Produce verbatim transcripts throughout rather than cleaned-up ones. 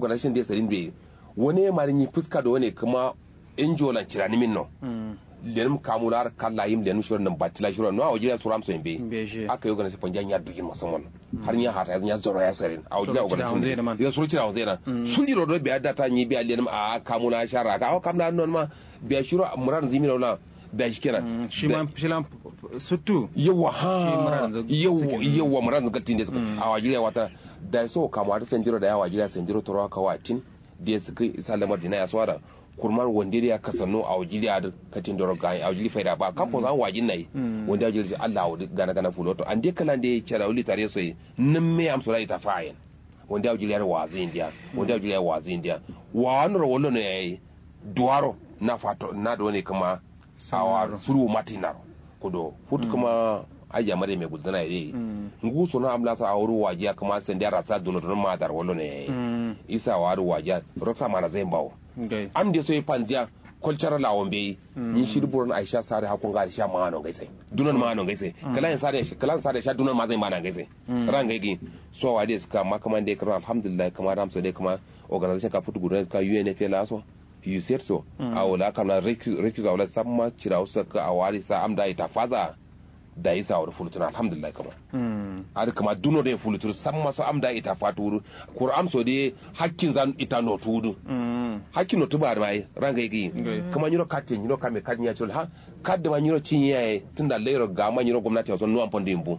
Organization de sadin be. Wane mari nyi fuska do wane kuma ngo lan cirani min no. Lenum kamu lar kalla yim lenum shiro nan batila shiro no awajiriya suram so yimbe. Aka yi organization fanja nya dugin musamman. Har nya hata nya zoro ya sarin awajiriya organization yo suru cira wanzai nan. Sun diro do biya data nyi biya lenum a kamu na shara ka awa kam na non ma. Biya shiro muran zimi no la. Da shi kenan shima shilan. Suttu yawa ha yawa muran zagatin da suka awajiriya wata. Da so kamu har sandiro da ya awajiriya sandiro toro ka watin. De sǝkǝ isa lamar dina ya suwara. Kurman wande dǝ ya kasanno awo jiri adǝ katin doro gayi awo jiri faida ba kam fosa wajin nayi. Wande awo jiri allah awo dǝ gana gana fuloto ande kǝlande carawu litare soyi. Nǝmme amso da ita fayen. Wande awo jiri adǝ wazu indiya. Wande awo jiri adǝ wazu indiya. Wawanoro wallono yayi. Duwaro na fato na done kǝma. Awa suru matinaro. Kudo futu kǝma ajiya maryam ye gulzǝna ye dai. Ngu sono am lasa awo dǝ wajiya kǝma sandiya rasa duno duno ma dar wallono yayi. Isa awa dǝ wajiya roksa mana zain bawo. Am de so ye panziya. Kolcara lawon beyi. Nyi shi dǝ buron aisha sare hakko nga aisha mano ngai sai. Dunon mano ngai sai. Kǝlan sare sha kǝlan sare sha dunon ma zain mana ngai sai. Ran ngai gi. So awa dai sǝka amma kǝma nde kǝma alhamdulillah kǝma dam so dai kǝma. Organization ka futu gudon ka unfa laso. You said so. Awo la kam la recuse awo la samma cirawu sakka awo adǝ sa am da ita faza. Dayi sa awo dǝ fulutuna alhamdulillah kǝma. Adǝ kǝma duno dǝ ye fuluturu samma so am da ita fatu wuru. Kuru am so dǝ ye hakkin zan ita notu wudu. Hakkin notu ba dǝ ma ye ranga ye gǝyi. Kǝma nyiro katte nyiro kame kat nya ciro ha. Kat dǝ ma nyiro cinye yaye tunda lairo gama nyiro gomnati awo so nuwan fandu yimbu.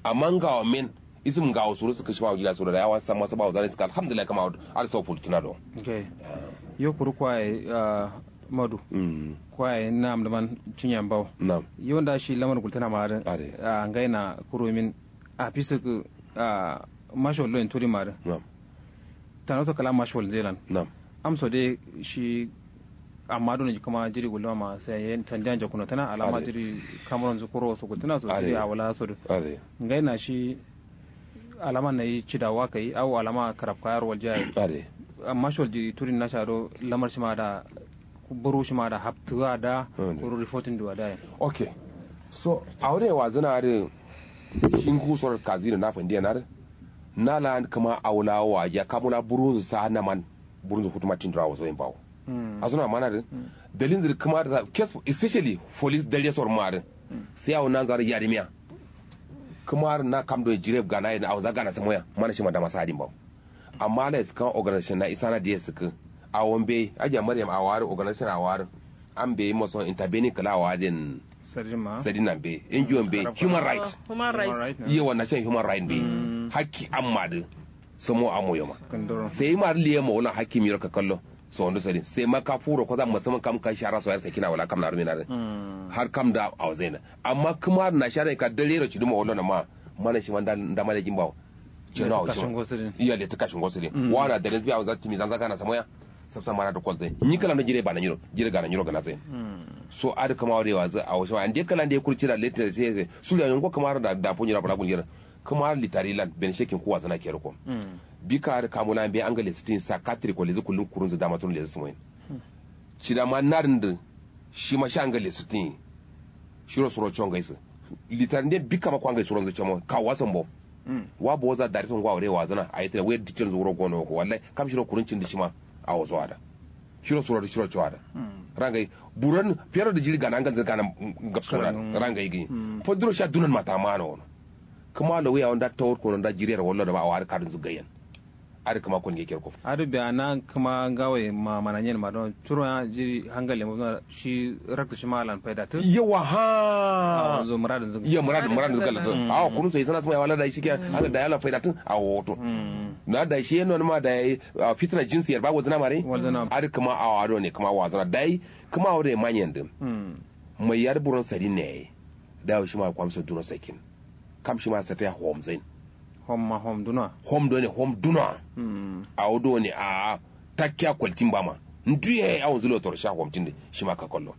Amma ngawo men. Isǝm ngawo suru sǝkǝ shima wujila suru da yawa samma sǝba wuzana isǝkǝ alhamdulillah kǝma adǝ sau fulutǝna do. Yo kuru kwaye. Madu. Kwaye nam dǝman cinye mbawo. Yo nda shi lamar gultǝna ma adǝ. Ngaina kuru min. Afi sǝkǝ. Mashol do yen turi ma adǝ. Tano so kǝla mashol nze lan. Amso de shi. Amma done kǝma jiri gulluma ma sai yen tandiya njakuno tǝna alama jiri. Kamuron zu kuro so gultǝna so jiri awala so dǝ. Ngaina shi. Alama nayi cidawa kayi awo alama karabka yaro waljiya ye. Amma shi walji turin nasha do lamar shima da. Buru shima da haptuwa da. Kuru reporting duwa da ye. Okay. So awo dǝ ye wazǝna adǝ. Shi ngu soro kazi dǝ na fandiya na dǝ. Na la kǝma awo la wajiya kamu la burunzǝ sa naman. Burunzǝ futuma tindura wazo yin bawo. Asuna mana dǝ. Dalin zǝ dǝ kǝma dǝ sa kes especially police dare soro ma dǝ. Sai awo nanzaro yadimiya. Kǝma dǝ na kam done jireb gana ye dǝ awo za gana sǝmoya mana shima dama sa adin bawo. Amma ala ye sǝkkan organization na isana diye sǝkkǝ. Awo mbeyi ajiya maryam awo adǝ organization awo adǝ. Am mbeyi maso intervening kǝla awo adǝ yen. Sadin na mbeyi ngo mbeyi human right. Yawa na shan human right mbeyi. Hakki amma dǝ. Sǝmo amo yoma. Sai ma dǝ liye ma wala hakki miro kakallo. Sawondu sadin sai ma ka furo koza masaman kam ka shara so yar sakina wala kam na rumina dǝ. Har kam da awo zaina. Amma kǝma na shara ka dare ro ciduma wallo na ma. Mana shima nda nda malekin bawo. Ceno awo shima. Iya letu kashin gosiri. Wana dare biya awo za timi zanza kana samoya. Sabsa mana dǝ kolzai nyi kǝla ndo jire bana nyiro jire gana nyiro gana zai. So adǝ kǝma wade wa zai awo shima ande kǝla nde kurci da letu da sai sai sulu ya nyongo kǝma ro da da fu nyiro bala gulgera. Kǝma ro litari lan ben shekin kuwa zana kero ko. Bika adǝ kamu la mbe angale sǝtin sa katri ko lezǝ kullum kurunzǝ dama tun lezǝ sǝmoyin. Cida ma nadǝn dǝ. Shima sha ngai lesǝtǝnyi. Shiro suro congai sǝ. Litar nde bikka ma kwa ngai suronzǝ camo kawu wa sambo. Wa boza dari songo awo dai wazǝna ayi tǝna wai dikkenzǝ wuro gono wako wallai. Kam shiro kurun cindǝ shima. Awo so ada. Shiro suro dǝ shiro co ada. Rangai. Buron fero dǝ jiri gana ngalzǝ gana. Ngapsona rangai gǝnyi. Fanduro sha dunon mata mano wono. Kǝma lo wuya wo nda tawur kono nda jiriyar wallo dǝ ma awo adǝ kadunzǝ gaiyen. Adǝ kǝma kon nge kerko. Adǝ biya na kǝma ngawo ye ma mana nyen ma don curo ya jiri hangal ye ma shi raktu shima alan faida tǝ. Yawa ha. Yo muradǝnzǝ. Yo muradǝnzǝ galla tǝ awo kunu so isana sǝma ye wala dai shike. Hangal dai alan faida tǝ awo woto. Na dai shi ye nonǝma dai. Fitna jinsi yer ba wazǝna mare. Adǝ kǝma awo adone kǝma wazǝna dai. Kǝma awo done ma nyen dǝ. Mai yadǝ buron sadin ne yayi. Dai awo shima kwamso duno sakin. Kam shima sate ya hom zain. Hom ma hom dunowa. Hom done hom dunowa. Awo done a'a. Takkiya kwaltin bama. Ndu yayi awonzǝ lotoro sha hom tinde shima kakallo.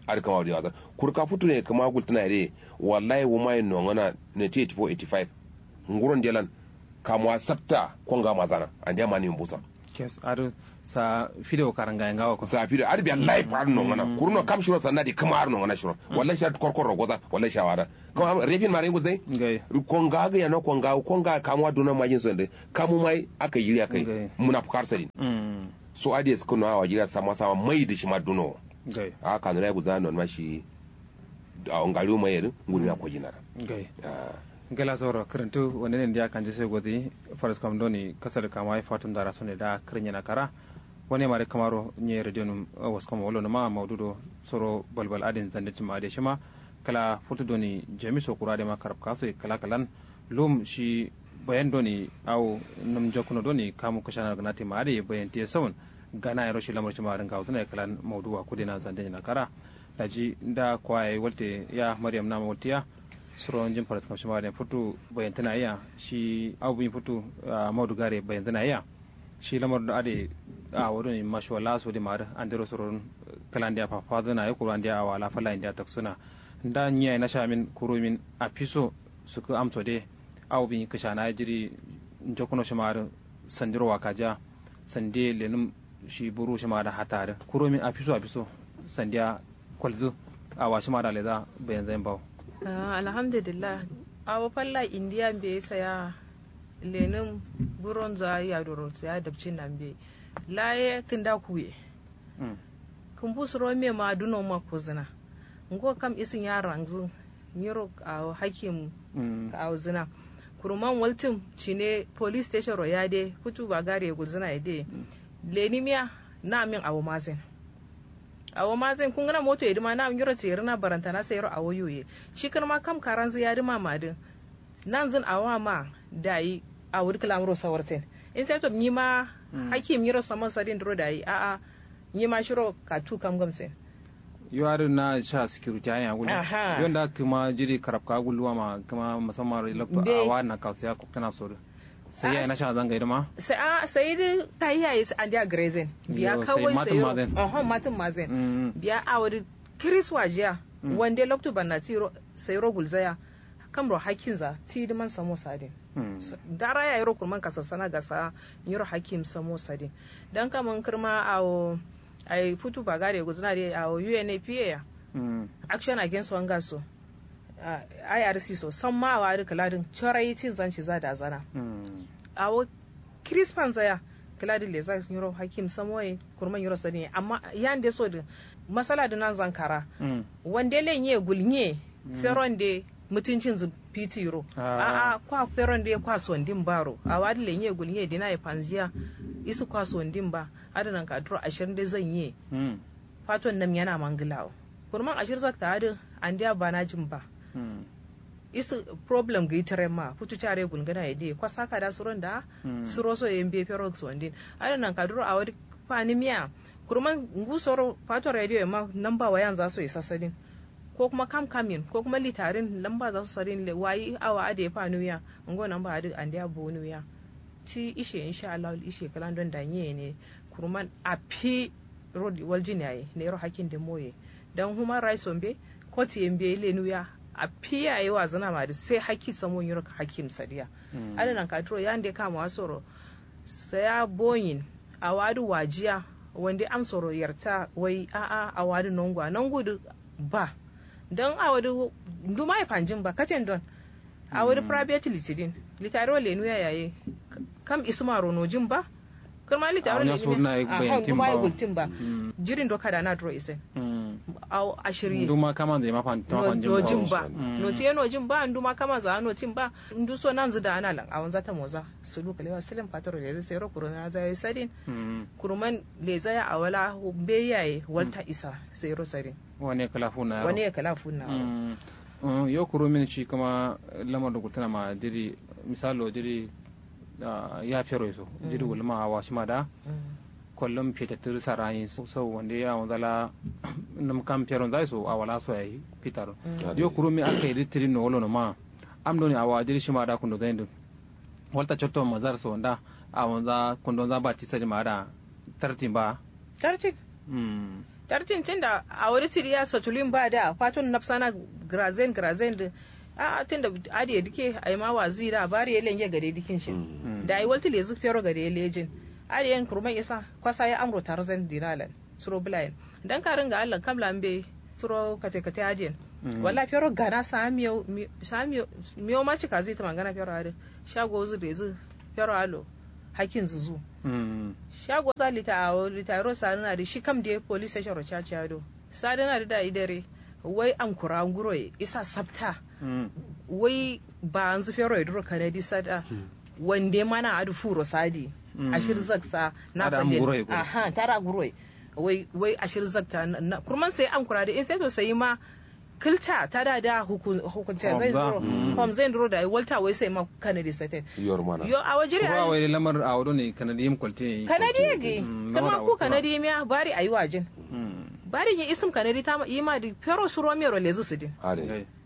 Adǝ kǝma wadi wazan. Kuru ka futu ne kǝma gultǝna ye dai. Wallahi wuma ye nongona. Nineteen eighty four eighty five. Nguron delan. Kamuwa sabta konga mazana andeya mani mbusa. Kes adǝ sa fidewo karangaye ngawo ko sa fidewo adǝ biya life adǝ nongana. Kuruno kam shiro sanna de kǝma adǝ nongana shiro. Wallahi sha korkor rogoza wallahi sha wada. Kǝma refin mare nguzai. Konga gǝ yano konga konga kamuwa duno majin so de kamu mai aka yiri aka yi. Muna fukar sadin. So adǝ ye sǝkǝno awa jiriya sama sama mai dǝ shima duno. A'a kanura ye guzana nonuma shi. Awo ngariwu mai yedǝ ngurmiya kojinara. Gela soro kǝrǝntǝ wande ne ndiya kanje sai gozi. Faraskam doni kasar kama ye fatum dara sone da kǝrǝnyena kara. Wane mare kǝmaro nye radio num waskam wolo numa maudu do soro balbal adin zande cima ade shima. Kala futu doni jami so kura de ma karab kaso kala kalan. Lum shi bayan doni awo num jokuno doni kamu kǝshana gǝnati ma ade bayan tiye saun. Gana yero shi lamar shima adin gawuzuna ye kalan maudu wa kudena zande nyena kara. Daji nda kwa yayi walte ya maryam nama waltiya. Suro njin faraskam shima adin futu bayantǝna yiya shi awo bǝnyi futu. Maudu gare bayantǝna yiya. Shi lamar do ade awo doni mashuwalla so de ma adǝ andero suro. Kala ndiya fafazǝna ye kuru andiya awo ala falla ye ndiya taksuna. Nda nyi yayi nasha min kuru min afiso sukǝ amso de. Awo bǝnyi kǝshana ye jiri njokuno shima adǝ. Sandiro wakajiya sande lenum shi buru shima adǝ hatta adǝ kuru min afiso afiso. Sandiya kolzǝ. Awa shima adǝ leza bayanzayin bawo. Alhamdulillah. Awo falla indiya mbeyi saya. Lenum buronza yadoro saya dabcin na mbeyi. Laye kǝnda kuye. Kǝmbu suro mema duno ma kuzǝna. Ngo kam isǝ nya rangzǝ. Nyiro awo hakim kawuzǝna. Kuruman waltǝm cine police station ro yade futu bagare gulzǝna yade. Lenimiya na min awo mazain. Awo mazain kungǝna moto yedǝma na min nyiro tserǝna barantana sairo awo yoye. Shi kǝrma kam karanzǝ yadǝma madǝ. Nanzǝn awo ma dayi. Awo dǝ kǝlamuro sawarten. Insaito nyima hakim nyiro samon sadin duro dayi a'a. Nyima shiro katu kam gamsen. Yo adǝ na sha security ayen agullu. Yo nda kǝma jiri karabka agullu wa ma kǝma musamman ro lokto awa na kausiya koktana so dǝ. Sai yayi na sha zangai dǝ ma. Sai a sai dǝ tayi yayi andiya grazing. Biya kawai sai ro. Matǝn mazen. Biya awo dǝ kiris wajiya. Wande lokto banna tiro sai ro gulzaya. Kamro hakkinza ti dǝ man samo sadin. Dara yayiro kurman kasassana gasa. Nyiro hakkim samo sadin. Dan kaman kǝrma awo. Ai futu bagare guzǝna de awo unapa ya. Action against hunger so. Irc so samma awo adǝ kǝladǝn corai cinzan ciza dazana. Awo kirispanza ya. Kǝladǝn leza nyiro hakkim samo ye. Kurman nyiro sadin ye amma yande so dǝ. Masala dǝ nanzan kara. Wande lenye gulnye. Feronde mutuncinzǝ. Fitiro a'a kwa feronde kwa sondin baro awo adǝ lenye gulnye dina ye fanziya. Isǝ kwa sondin ba. Adǝ nanka duro ashirnde zanye. Faton nam yana mangǝlawo. Kurman ashir zakta adǝ andiya banajin ba. Isǝ problem gǝyi tǝren ma futu care gulngǝna ye diye kwasa kada suron da. Suro so ye mbe fero sondin. Adǝ nanka duro awo dǝ fanimiya. Kurman ngusoro fato radio ye ma namba wayanza so ye sasadin. Ko kuma kam kam yin ko kuma litarin namba za so sadin wayi awa adǝ ye faniwiya. Ngo namba adǝ andiya boniwiya. Ti ishe insha allahu ishe kǝlandon da nyi ye ne. Kurman afi. Ro waljin yayi nero hakkin de moye. Dan human rights so mbe. Kot ye mbe lenuya. Afi yayi wazǝna ma dǝ sai hakki samo nyiro hakkim sadiya. Adǝ nanka duro yande kamuwa soro. Saya boyin. Awa dǝ wajiya. Wande amsoro yarta wai a'a awa dǝ nonguwa nongu dǝ. Ba. Dan awa dǝ nduma ye fanjin ba katen don. Awo dǝ private litidin. Litari wa lenuya yayi. Kam isǝmaro nojin ba. Kǝrma litari wa lenuya. Nduma ye gultin ba. Jirin do kada na duro isen. Awo ashiri. Nduma kamanza ye ma fanjin ba. Nojin ba. Notiye nojin ba nduma kamanza a notin ba. Nduso nanzǝ da ana lan awonza tamoza. Sulu kalewa silin fatoro lezǝ sairo kuruna za ye sadin. Kuruman lezaya awala. Mbeyi yaye walta isa. Sairo sadin. Wane kǝla funa wane kǝla funa. Yo kuru min shi kǝma lamar dǝ gultǝna ma jiri. Misalo jiri. Ya fero ye so jiri gultǝma awa shima da. Kollum fetattǝ dǝ sarayi sau wande ya wunza la. Nǝm kam feronza ye so awa la so yayi fitaro. Yo kuru min aka yi dǝ tǝdin no wolo no ma. Am doni awa jiri shima da kundo zain dǝ. Walta cotto mazar so nda. Awonza kundonza bati sadin ma da. Tartin ba. Tartin. Tartin tunda awodǝ tǝdiya satulin ba da faton nafsana. Gǝrazen gǝrazen dǝ. A'a tunda adǝ ye dǝke aima wazi da bari ye lenge gade dǝkin shin. Dayi waltǝ lezǝ fero gade ye lejin. Adǝ yen kurman isa kwasa ye amro tarzan dinalan suro bǝlayen. Dan karǝn nga allan kamla mbeyi suro kate kate adǝ yen. Walla fero gana saa miyo miyo ma cikazi tǝmangana fero adǝ sha gozǝ dezǝ fero allo. Hakkinzǝ zu sha goza lita awo lita yero sadǝna dǝ shi kam diye police station ro caca do. Sadǝna dǝ dayi dare wai ankura nguroye isa sabta. Wai baanzǝ feroye duro kanadi sada. Wande mana adǝ furo sadi ashir zaksa na fande. Aha tada nguroye wai wai ashir zakta. Kurman sai ankura dǝ in sai to sai ma kǝlta tada da hukunta zai duro. Hom zai duro dayi walta wai sai ma kanadi saten. Yo awo jiri ayi. Wai lamar awo done kanadi yim kwalte. Kanadi yagi. Kǝrma ku kanadi yim ya bari ayi wajin. Bari nyi isǝm kanadi tama yima dǝ fero suro mero lezǝ sǝdin.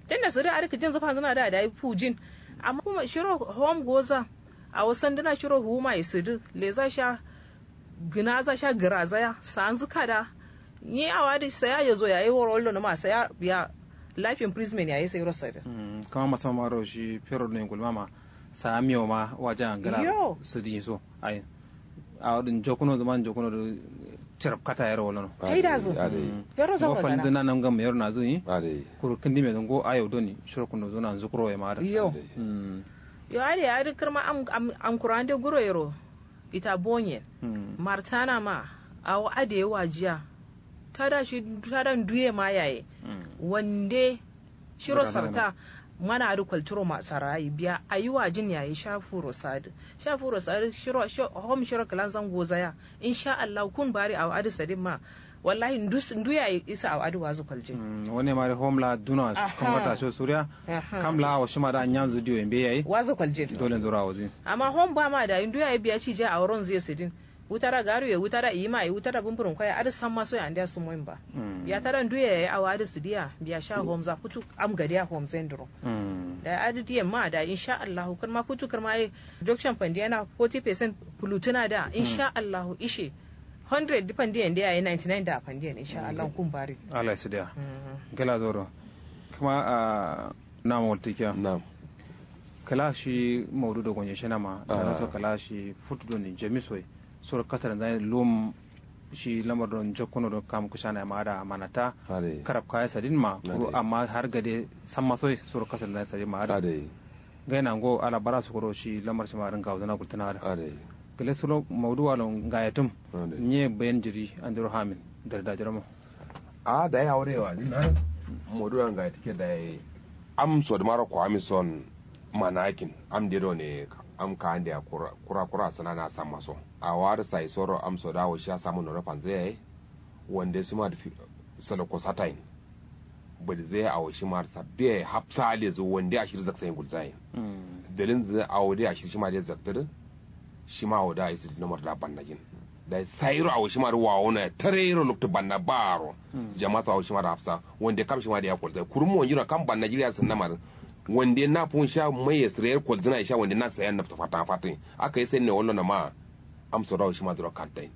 Tunda sǝdǝ adǝ kǝjin zǝ fanzǝna da dayi fujin. Amma kuma shiro hom goza awo sandǝna shiro huma ye sǝdǝ leza sha gǝnaza sha gǝraza ya sanzǝ kada. Nyi awo adǝ saya yezo yayi woro wallo nǝma saya biya life imprisonment yayi sairo sadǝ. Kama masama maro shi fero done gulmama. Saa miyo ma waja ngala sǝdǝ nyi so ayi. Awo dǝ njokuno dǝ ma njokuno dǝ carab kata yero wallo no. Faida zǝ fero zauro gana. Ngo falzǝ na nam gam yero nazǝ nyi. Kuru kǝndime dǝ ngo ayo doni shiro kundo zuna nzukuro ye ma adǝ. Yo adǝ ye adǝ kǝrma am am am kura ande guro yero. Ita bonyen martana ma awo adǝ ye wajiya. Tada shi tada nduye ma yaye. Wande shiro sarta mana adǝ kwalturo ma sarayi biya ayi wajin yaye sha furo sadǝ. Sha furo sadǝ shiro hom shiro kǝlanzan gozaya. Insha allahu kun bari awo adǝ sadin ma. Wallahi ndu yayi isa awo adǝ wazu kwaljin. Wane mare hom la duna kamata sho suriya. Kam la awo shima da nyanzu diyo yembe yayi wazu kwaljin. Dole ndura wazu. Amma hom ba ma dayi ndu yayi biya cija awo ronzu ye sǝdin. Wutara garu ye wutara iyima ye wutara bumburum kwaya adǝ samma so ye andeya sǝmoyin ba. Biya tada ndu ye yayi awo adǝ sǝdiya biya sha homza futu. Am gadiya homzen duro. Dayi adǝ diyen ma dayi insha allahu kǝrma futu kǝrma ye. Jokcen fandiya na forty percent. Fulutuna da insha allahu ishe. Hundred dǝ fandiyen dǝ yayi ninety nine da fandiyen insha allahu kun bari. Allah ya sǝdiya. Gala zoro. Kǝma a nam waltikiya. Nam. Kǝla shi maudu do gonye shena ma. Nam so kǝla shi futu doni jami soye. Soro kasar nzai lum. Shi lamar don jokkono don kam kushana ma ada manata. Karab kaya sadin ma kuru amma har gade samma soye soro kasar nzai sadin ma ada. Ngai nango ala bara sukuro shi lamar shima adǝ ngawo zǝna gultǝna adǝ. Gǝle sulo maudu walo ngaye tǝm. Nye bayan jiri andiro hamin. Dare dajiro mo. Ahh dayi awo dǝ ye wajin adǝ. Maudu walo ngaye tǝkke dayi. Am sodǝ maro ko ami son. Manakin am de done. Am ka ande ya kura kura sǝna na samma so. Awo adǝ sai soro am sodǝ awo shiya samma nono fanzǝ yaye. Wande shima dǝ salo ko satayin. Badi zai awo shima dǝ sabbe yayi hafsa lezǝ wande ashir zaksayin gulzayin. Dalin zǝ awo dǝ ashir shima dǝ zaktǝ dǝ. Shima awo dǝ ayi sǝ nomar da bannajin. Dayi sayiro awo shima dǝ wawo na ya tarairo loktu banna baro. Jama so awo shima dǝ hafsa wande kam shima dǝ ya kolzai kurum monjino kam bannajin ya sǝnna ma dǝ. Wande na fun sha mai ye sǝre yar kolzǝna ye sha wande na sayan naftu fatan fatin. Aka yi sai ne wallo na ma. Am so dǝ awo shima dǝ ro kantain.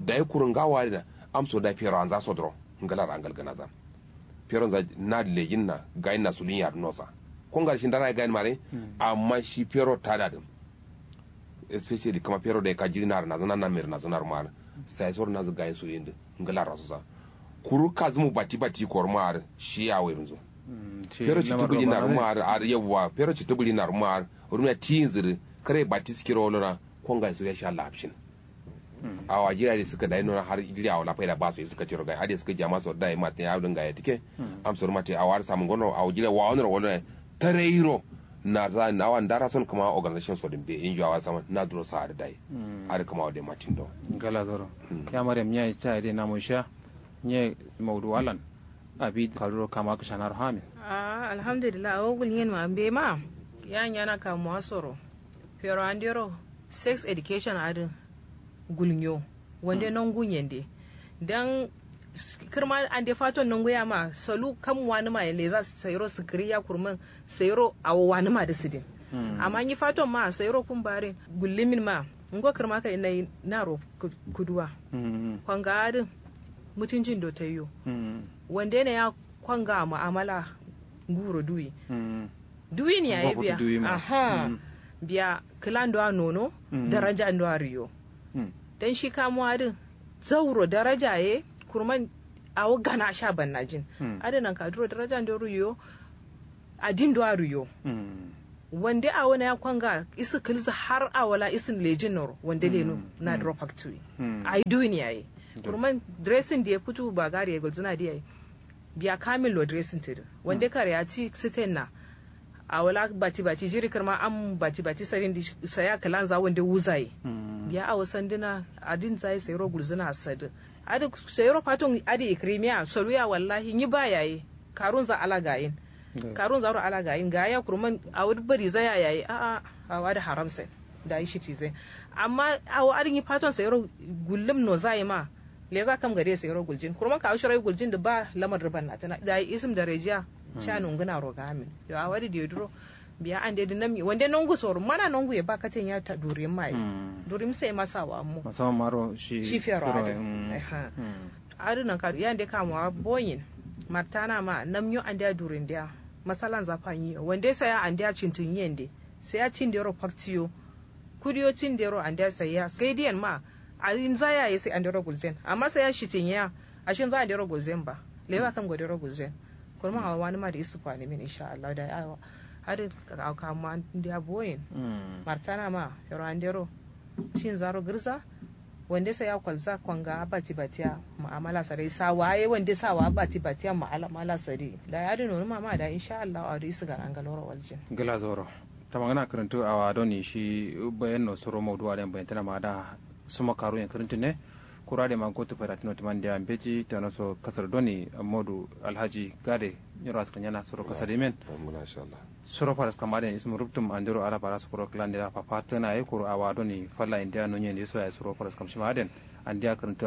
Dayi kuru ngawo adǝ na. Am so dǝ fero anza so dǝ ro. Ngalar angal gǝnazan. Fero nza na lejin na gayin na sulin ya dǝ nosa. Ko ngal shi ndara ye gayin mare. Amma shi fero tada dǝ. Especially kǝma fero dai ka jiri na rǝnazǝna na mai rǝnazǝna rǝma dǝ. Sai so rǝnazǝ gayin sulin dǝ. Ngalar rasosa. Kuru kazǝmu bati bati ko rǝma dǝ. Shi ya wai rǝnzǝ. Fero cittǝ bǝli na rǝma dǝ adǝ yawwa fero cittǝ bǝli na rǝma dǝ. Rǝmiya tiyinzǝ dǝ. Kare bati sikiro lona. Ko ngai suriya sha lafshin. Awo ajiri ade sǝkka dayi nona har jiri awo la faida baso ye sǝkka tiro gai ade sǝkka jama so dayi matin awo dǝ ngaye tǝkke. Am soro matin awo adǝ samǝ ngono awo jiri wawo noro wallo. Tarairo. Narza awa ndara son kǝma organization so dǝ mbe injo awo adǝ samǝ na duro sa adǝ dayi. Adǝ kǝma awo dǝ matin do. Ngala zoro. Ya maryam nya ye ca ye dǝ namo shiya. Nye maudu alan. Abi kaduro kama kǝshanaro hamin. Ahh alhamdulillah awo gulnyen ma mbe ma. Ya nyana kamuwa soro. Fero andero. Sex education adǝ. Gulnyo. Wande nongu nyende. Dan kǝrma ande faton nongu ya ma salu kam wanǝma ye leza sairo sǝkǝri ya kurman. Sairo awo wanǝma dǝ sǝdin. Amma nyi faton ma sairo kumbarin gullumin ma. Ngo kǝrma kai nai naro. Kuduwa. Konga adǝ. Mutunjin do taiyo. Wande ne ya konga mu'amala. Nguro duwi. Duwi ne ya ye biya. Aha. Biya kǝla ndo a nono. Daraja ndo a riyo. dan shi kamuwa din zauro daraja ye kurman awo gana sha bannajin. Adǝ nankaduro daraja ndero yo adin do aruyo. Wande awo na ya kwanga isu kǝlzǝ har awo la isu lejin noro wande lenu. Naduro factory ai duwin yayi. Kurman dressing diye futu bagari ye gulzǝna diye. Biya kamil lo dressing tǝdǝ wande kare ya ti siten na. Awo la bati bati jiri kǝrma am bati bati sarin di saya kǝlanza wande wuzaye. Biya awo sandǝna adin zaye sayiro gulzǝna sadǝ. Adǝ sayiro faton adǝ ikrimiya soluya wallahi nyi ba yayi. Karunza ala gayin. Karunza ro ala gayin gaya kurman awo dǝ bari zaya yayi a'a. Awo adǝ haram sen dayi shiti zai. Amma awo adǝ nyi faton sayiro gullum no zaye ma. Leza kam gade sayiro guljin kurman kawo shiro guljin dǝ ba lamar dǝ bannatǝna dayi isǝm darejiya. Sha nongǝna ro gamin yo awo adǝ diyo duro. Biya ande dǝ namnyi wande nongu soro mana nongu ye ba katen ya durim maye. Durim sai masawa mo. Masawa maro shi shi fero adǝ. Adǝ nankaduro yande kamuwa boyin. Martana ma namnyo andeya durindeya masalanza fanyiyo wande saya andeya cintinyi yende. Saya cindero faktiyo. Kudiyo cindero andeya saya sai diyen ma. Arinza yaye sai andero gulzen amma saya shitinyiya. Ashinza andero gulzen ba. Leza kam godero gulzen. Kurman awo wanima dǝ isu fanimin insha allahu dayi awo. Adǝ kamuwa ndeya boyin. Martana ma fero andero cinzaro gǝrza. Wande saya kwalza kwanga bati batiya. Ma'amala sadai sawa ye wande sawa bati batiya ma'amala sadai. Dayi adǝ nonuma ma dayi insha allahu awo dǝ isu gana ngaloro waljin. Gla zoro. Tamangana kǝrǝntu awa doni shi bayan no suro maudu aden bayan tana ma da. Suma karu yen kǝrǝntu ne. Kura de ma gotu fada tino timan dia mbeji tano so kasar doni modu alhaji gade. Nyiro askanyana suro kasar dimen. Suro faras kam aden isum ruptum andiro ala faras kuro klan dira papa tana ye kuro awa doni falla india nonye ne so ya suro faras kam shima aden. Andia kǝrǝntu.